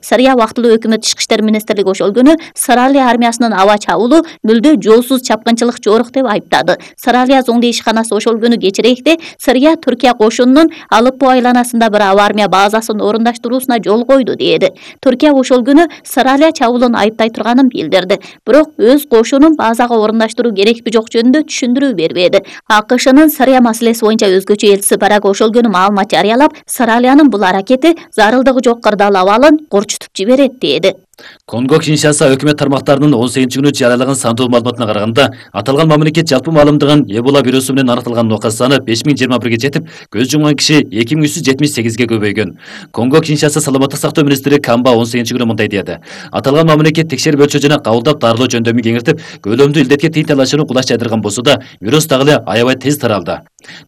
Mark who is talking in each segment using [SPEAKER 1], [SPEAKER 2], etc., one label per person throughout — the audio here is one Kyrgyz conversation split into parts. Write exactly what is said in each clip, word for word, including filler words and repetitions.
[SPEAKER 1] Сырия убактылуу өкмөт ички иштер министрлиги ошол күнү Сыралия армиясынын аба чабуулу мүлдө жоосуз чапкынчылык жорук деп айыптады. Сыралия зоңду ишканасы ошол күнү кечирээкте Сырия Түркия кошунунун Алеппо айланасында bir аба армия базасын орундаштыруусуна жол койду деди. Түркия ошол күнү Сыралия чабуулун айыптай турганын билдирди. Бирок өз кошунун базага орундаштыруу керекпи жок жөнүндө түшүндүрүү бербеди. АКШнын Сырия маселеси боюнча өзгөчө элчиси Барак ошол күнү маалымат жарыялап, Сыралиянын бул аракети зарылдыгы жок кырдаал абалын корчутуп жиберет деди.
[SPEAKER 2] Конго Киншаса өкмөт тармактарынын он сегизинчи күнү жарыялаган сандуу маалыматына караганда, аталган мамлекет жалпы маалымдаган Эбола вирусу менен аныкталган нокас саны беш миң жыйырма бирге жетип, көз жумган киши эки миң үч жүз жетимиш сегизге көбөйгөн. Конго Киншаса саламаттык сактоо министри Камба он сегизинчи күнү мындай деди. Аталган мамлекет текшерип өлчөө жана кабылдап дарылоо жөндөмүн кеңиртип, көлөмдүү илдетке тыйын талашууну кулаш жайдырган болсо да, вирус дагы эле аябай тез таралды.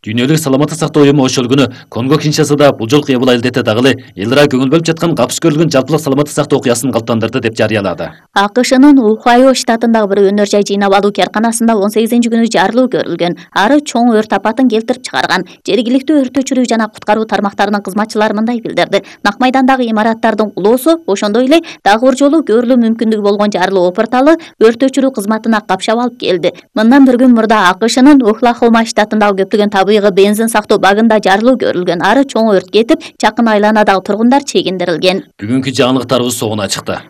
[SPEAKER 2] Дүйнөлүк саламаттык сактоо уюму ошол күнү Конго Киншасада бул жолку Эбола илдети дагы эле элдера көңүл бөлүп жаткан капыс көрүлгөн жалпылык саламаттык сактоо окуясын калыптандырды деп жарыялады.
[SPEAKER 1] АКШнын Ohio штатындагы bir өнөр жай жыйнап алуу каарканасында он сегизинчи күнү жарылуу көрүлгөн. Ары чоң өрт апатын келтирип чыгарган. Жергиликтүү өрт өчүрүү жана куткаруу тармактарынын кызматчылары мындай билдирди. Нак майдандагы имараттардын кулоосу, ошондой эле дагы бир жолу көрүлүү мүмкүндүгү болгон жарылуу опурталы өрт өчүрүү кызматына капшап алып келди. Мындан bir күн мурда АКШнын Oklahoma штатындагы көптөгөн табигый бензин сактоо багында жарылуу көрүлгөн. Ары чоң өрт кетип, жакын айланадагы тургундар чегиндирилген.
[SPEAKER 2] Бүгүнкү жаңылыктарыбыз соңуна чыкты.